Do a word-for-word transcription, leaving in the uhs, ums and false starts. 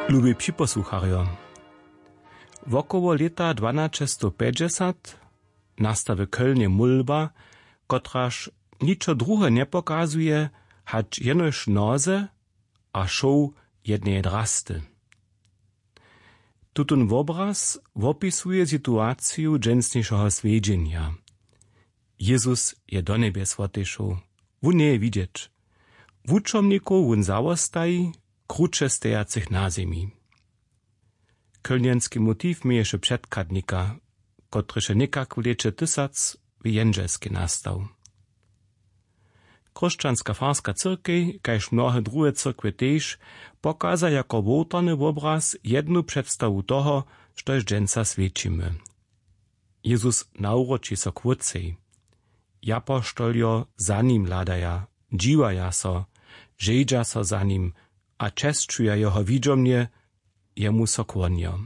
Lubi připosłucharjo, wokoło lěta dwanaćestowpjećdźesat nasta w Kölnje mólba, kotraž ničo druhe njepokazuje, hač jenož noze a šoł jedneje drasty. Tutón wobraz wopisuje situaciju dźensnišeho swjedźenja. Jezus je do njebjes wotešoł. Wón njeje widźeć. Wučomnikow wón zawostaji, kruće stejacych na zemi. Kölnjenski motiw měješe předchadnika, kotryž je někak w lěće tysac w Jendźelskej nastał. Chróšćanska farska cyrkej, kaž mnohe druhe cyrkwje tež, pokaza jako wołtarny wobraz jednu předstawu toho, štož dźensa swjećimy. Jezus nawróći so k wócej. Japoštoljo za nim hladaja, dźiwaja so, žejdźa so za nim a česćuja jeho widźomnje, jemu so kłonjo.